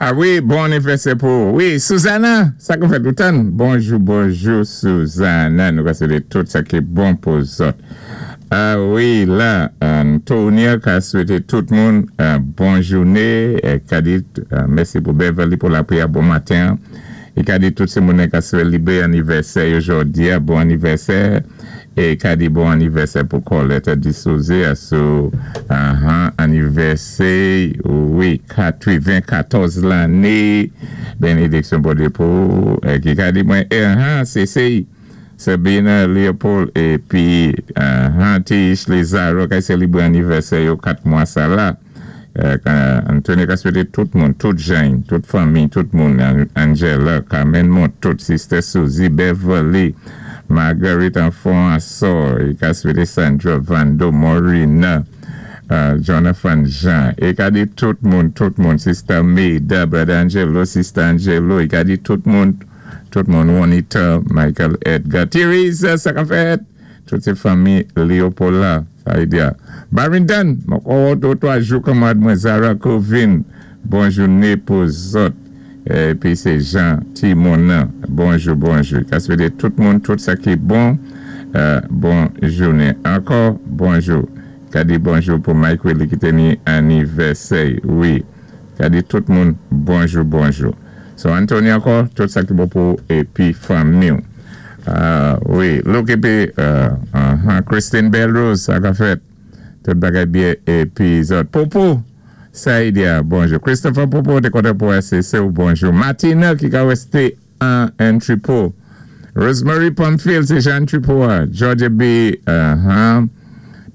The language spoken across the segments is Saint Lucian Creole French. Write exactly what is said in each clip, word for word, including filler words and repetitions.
Ah wi, bon anivèsè pou. Wi, Susanna, sa ki fè toutan. Bonjou, bonjou, Susanna. Nou ka swété tout sa ki bon pou zòt. Ah wi, la, Antonia ka swété tout moun bon jouné. Ka di, mèsi pou Beverly pou lapriyè bon maten. É ka di tout sé moun ka sélébré anivèsè jòdi a, bon anivèsè. É ka di bon anivèsè pou Colette Dissouze sou uh-huh, anivèsè, wi, katwennkatòz lanné. Bénédiksyon pou pou ki ka di mwen, uh-huh, sé sé Sabina Leopold épi uh-huh, Tish Lizaro ki sélébré anivèsè yo kat mwa sa la. Anthony ka swété tout moun, tout jèn, tout fanmi, tout moun, Angela, Carmen Mont, tout Sister Suzy, Beverly, Marguerite Enfant Assor, i ka swété Sandra Vando, Morina, Jonathan Jean, i ka di tout moun, tout moun, Sister Maida, Brother Angelo, Sister Angelo, i ka di tout moun, tout moun, Juanita, Michael Edgar, Teresa, sa ka fèt, tout sé fanmi Leopold la, sa i di a. Barrington, mwen twa jou kanmad mwen Zara Covin, bon jouné pou zòt. Épi sé Jean Timona, bonjou, bonjou. Ka swété tout moun, tout sa ki bon, bon jouné. Ankò, bonjou. Ka di bonjou pou Mike Willie ki té ni anivèsè, wi. Ka di tout moun, bonjou, bonjou. So, Anthony ankò, tout sa ki bon pou épi fanmi. Wi, look épi, Christine Belrose, sa ka fèt. Tout bagay byen épi zòt. Popo, Saïdia, bonjou. Christopher Popo, té kontan pou S C C ou bonjou. Martina ki ka wésté an Tripo. Rosemary Pamphile, sé Jean Tripo. Georgia B. Uh-huh.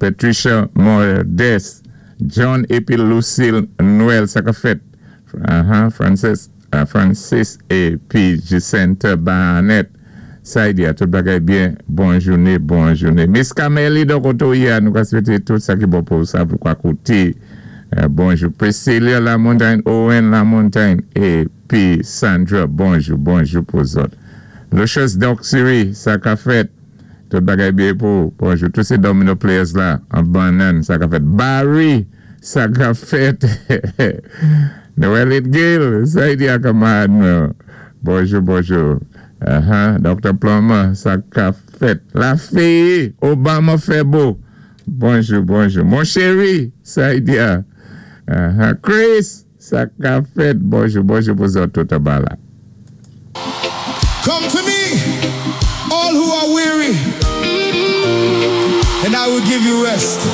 Patricia Mordes. John épi Lucille Noël, sa ka fèt. Uh-huh. Francis, uh, Francis épi Jacinta Barnett. Saïdia, tout bagay byen, bon jouné, bon jouné. Miss Cameli, donk oto ya, nou ka swété tout sa ki bon pou sa pou kwa kouté. Bonjou. Priscilla Lamontagne, Owen Lamontagne, épi Sandra, bonjou, bonjou pou zòt. Lucius Doxery, sa ka fèt. Tout bagay byen pou, bonjou. Tout sé domino players la, an banan, sa ka fèt. Barry, sa ka fèt. Noël Gale, Saïdia kanmad. Bonjou, bonjou. Uh-huh. Docteur Plummer, sa ka fèt. La fille, Obama Febo. Bonjou, bonjou. Mon chéri, Saïdia. Uh-huh. Chris, sa ka fèt. Bonjou, bonjou pou zòt tout la. Come to me, all who are weary, and I will give you rest.